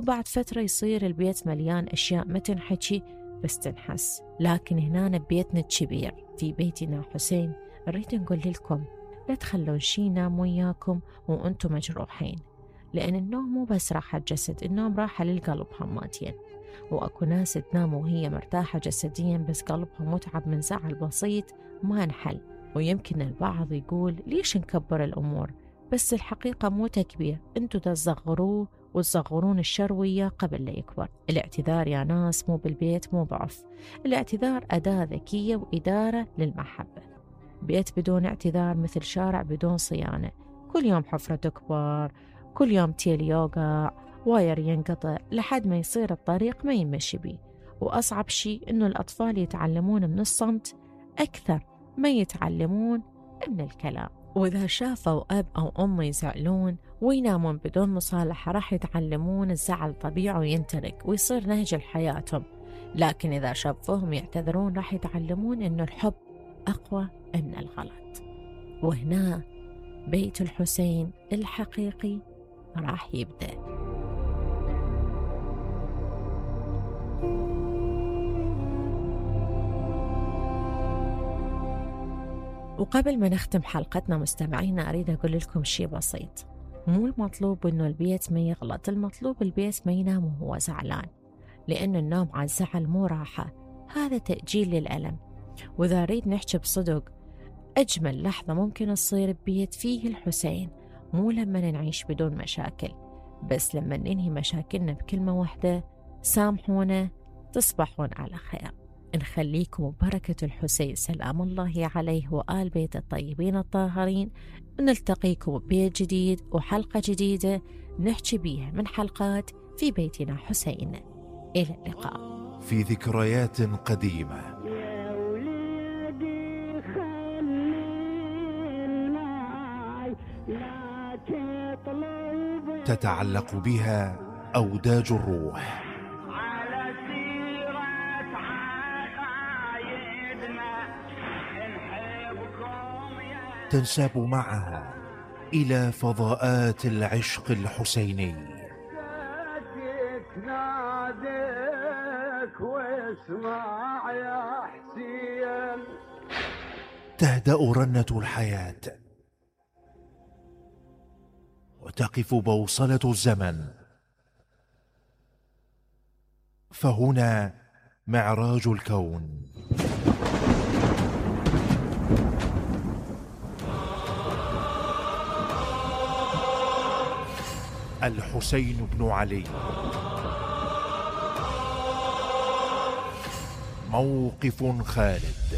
وبعد فترة يصير البيت مليان أشياء ما تنحكي بس تنحس. لكن هنا ببيتنا الكبير في بيتنا حسين نريد نقول لكم لا تخلون شي ينام وياكم وأنتم مجروحين، لأن النوم مو بس راحة جسد، النوم راحة للقلب هماتين. وأكو ناس تنام وهي مرتاحة جسديا بس قلبها متعب من زعل بسيط ما انحل. ويمكن البعض يقول ليش نكبر الأمور، بس الحقيقة مو تكبير، انتو تصغروه وتصغرون الشروية قبل لا يكبر. الاعتذار يا ناس مو بالبيت مو ضعف، الاعتذار أداة ذكية وإدارة للمحبة. بيت بدون اعتذار مثل شارع بدون صيانة، كل يوم حفرة تكبر، كل يوم تيل يوقع، واير ينقطع لحد ما يصير الطريق ما يمشي بيه. وأصعب شيء إنه الأطفال يتعلمون من الصمت أكثر ما يتعلمون من الكلام. وإذا شافوا أب أو أم يزعلون وينامون بدون مصالحة راح يتعلمون الزعل طبيعي وينترك ويصير نهج لحياتهم. لكن إذا شافوهم يعتذرون راح يتعلمون إنه الحب أقوى من الغلط. وهنا بيت الحسين الحقيقي راح يبدأ. وقبل ما نختم حلقتنا مستمعينا أريد أقول لكم شيء بسيط، مو المطلوب إنه البيت ما يغلط، المطلوب البيت ما ينام وهو زعلان، لأن النوم على الزعل مو راحة، هذا تأجيل للألم. وإذا أريد نحكي بصدق، أجمل لحظة ممكن تصير ببيت فيه الحسين مو لما نعيش بدون مشاكل، بس لما ننهي مشاكلنا بكلمة واحدة: سامحونا، تصبحون على خير. نخليكم ببركة الحسين سلام الله عليه وآل بيت الطيبين الطاهرين. نلتقيكم ببيت جديد وحلقة جديدة نحكي بيها من حلقات في بيتنا حسين. إلى اللقاء. في ذكريات قديمة تتعلق بها أوداج الروح، تنساب معها إلى فضاءات العشق الحسيني. تهدأ رنة الحياة وتقف بوصلة الزمن، فهنا معراج الكون. الحسين بن علي، موقف خالد.